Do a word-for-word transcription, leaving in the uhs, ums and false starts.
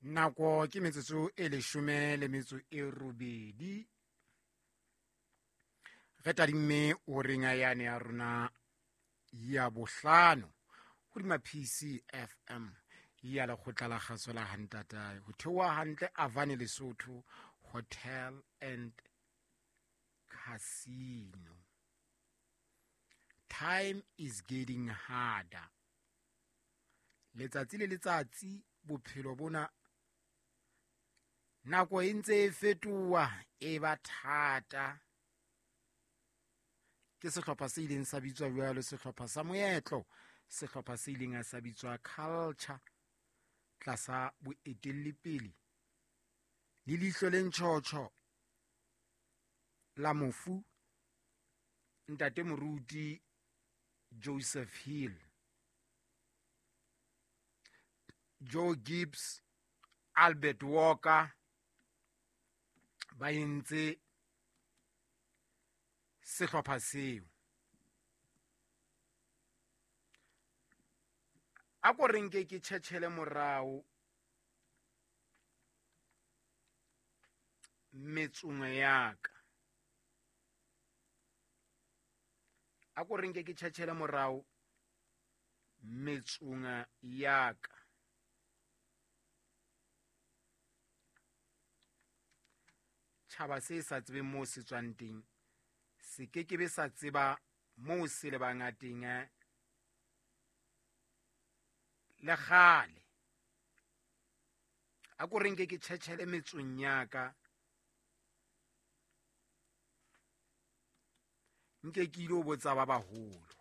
Nako ke metsotso e leshome le metso e robedi. Re tadimme horeng yane ya rona ya bohlano hodima P C F M ya lekgotla la kgaso la Hantatae. Ho theoha hantle Avane Lesotho Hotel and Casino. Time is getting harder. Letsatsi le letsatsi bophelo bona nako e ntse e fetoha e ba thata. Ke sehlopha se ileng sa bitswa jwalo sehlopha sa moetlo, sehlopha se ileng sa bitswa culture tlasa boetelli pele le leihlo le ntjhotjho la mofu ntate moruti Joseph Hill, Joe Gibbs, Albert Walker ba entse sehlopha seo. A ko re nke ke tjhetjhele morao metsong ya ka. A ko re nke ke tjhetjhele morao metsong ya ka. Tjhaba se sa tsebeng moo se tswang teng, se ke ke be sa tseba moo se lebang a teng le kgale. A ko re nke ke tjhetjhele metsong ya ka, nke ke ilo botsa ba baholo.